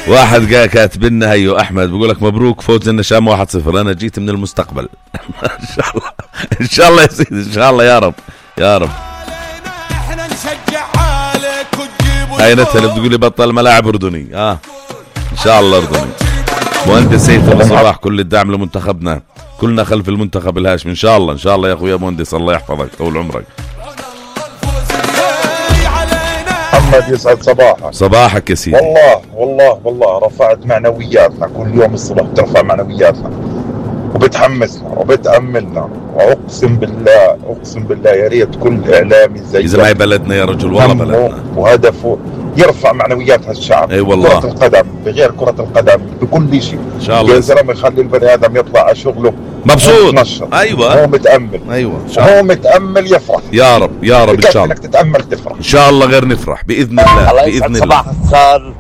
واحد جاء كاتب لنا هيو احمد بيقول لك مبروك فوز النشام 1-0. انا جيت من المستقبل. ان شاء الله ان شاء الله يا سيدي ان شاء الله يا رب يا رب. هاي نتها اللي بتقول لي بطل ملاعب اردني. ان شاء الله اردني. مهندس سيف ابو صباح كل الدعم لمنتخبنا، كلنا خلف المنتخب الهاشمي. ان شاء الله ان شاء الله يا اخويا مهندس، الله يحفظك طول عمرك. محمد يسعد صباحك. صباحك يا سيدي. والله رفعت معنوياتنا، كل يوم الصبح بترفع معنوياتنا وبتحمسنا وبتأملنا، واقسم بالله يا ريت كل اعلامي زي اذا ما هي بلدنا يا رجل والله بلدنا، وهدفه يرفع معنويات هالشعب. اي والله. كرة القدم بغير كرة القدم بكل شيء ان شاء الله يا زلمه، يخلي البني ادم يطلع على شغله مبسوط. ايوه هو متأمل. ايوه هو متأمل يفرح. يا رب يا رب ان شاء الله. انك تتأمل تفرح ان شاء الله، غير نفرح باذن الله باذن الله. صباح الخير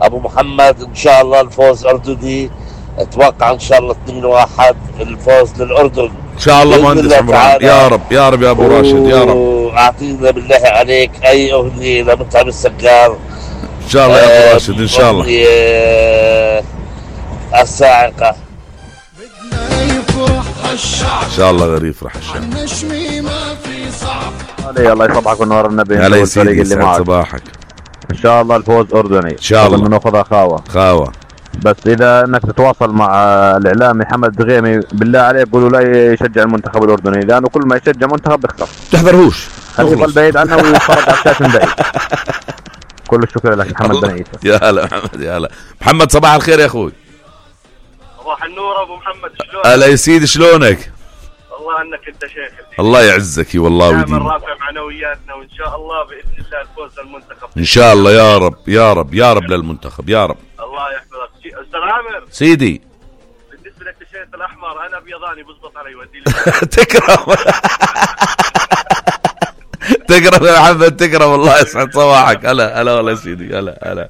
ابو محمد، ان شاء الله الفوز اردني، اتوقع ان شاء الله 2-1 الفوز للاردن ان شاء الله. مهندس عمران يا رب يا رب يا ابو راشد يا رب. اعطينا بالله عليك اي اغنيه لمتعب السجار ان شاء الله يا ابو راشد ان شاء الله. الصاعقه ان شاء الله غير يفرح الشعب. الله يصبحك ونور النبي. هلا يا سيدي يسعد صباحك. ان شاء الله الفوز اردني ان شاء الله. ناخذها خاوه. بس اذا انك تتواصل مع الاعلامي حمد غيمي بالله عليك قولوا لا يشجع المنتخب الاردني، لانه كل ما يشجع منتخب بيخسر. تحضرهوش، خليه يضل بعيد عنه ويتفرج على الشاشه من بعيد. كل الشكر لك محمد بن عيسى. يا هلا محمد يا هلا محمد. صباح الخير يا اخوي. صباح النور ابو محمد، شلونك؟ هلا يا سيدي شلونك؟ والله انك انت شيخ. الله يعزك والله ويديمك. دائما رافع معنوياتنا، وان شاء الله باذن الله الفوز للمنتخب ان شاء الله يا رب يا رب يا رب للمنتخب يا رب. الله يحفظك. استاذ عامر سيدي، بالنسبه للتيشيرت الاحمر انا ابيضاني بزبط علي ودي لي. تكرم تكرم يا محمد تكرم. الله يسعد صباحك. هلا هلا والله يا سيدي. هلا هلا.